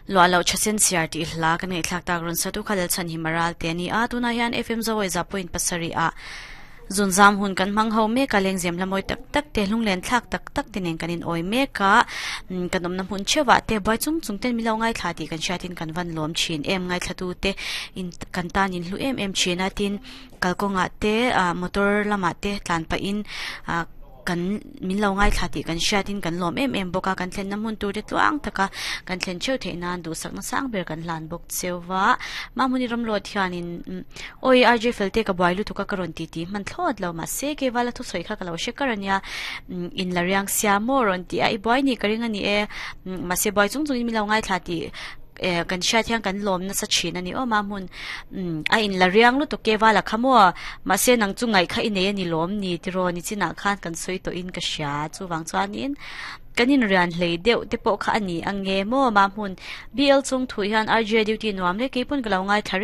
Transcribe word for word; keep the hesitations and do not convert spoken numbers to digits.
Lua lo chasen siar ti hla kan ngai thlak tak ron satu khalal chan hi maral te ni a. Tuna hian F M zawai za point pasari a zunzam hun kan mang ho me ka leng zem lamoi tak tak te lunglen thlak tak tak te nen kanin oi me ka kan om na hun chewa te bai chung chung ten milo ngai thla ti kan shatin kan van lom chin em ngai thlatu te in kan tan in hlu em em china tin kalkonga te motor lama te tlan pa in kan min lo ngai thla ti kan shatin kan lom em em boka kan thlen nam hun tur te tluang taka kan thlen cheu the nan du sak na sang ber kan hlan bok chewa ma muni ram lo thian in oi R J felte ka bailu tuka karon ti ti man thlot lo ma se ke wala thu soi kha ka lo shekarania in lariang sia moron ti ai boy ni karinga ni e ma se boy chung chung min lo ngai thla ti kan sha thiang kan lom na sa chin ani o ma mun a in lariang lu to ke wala khamo ma se nang chu ngai kha ine ani lom ni tiro ni china khan kan soi to in ka sha chu wang chuan in kanin rian hlei deuh te pawh kha ani ange mo ma hmun B L chung thu hian R J duty nuam le keipun ka lo ngai thare.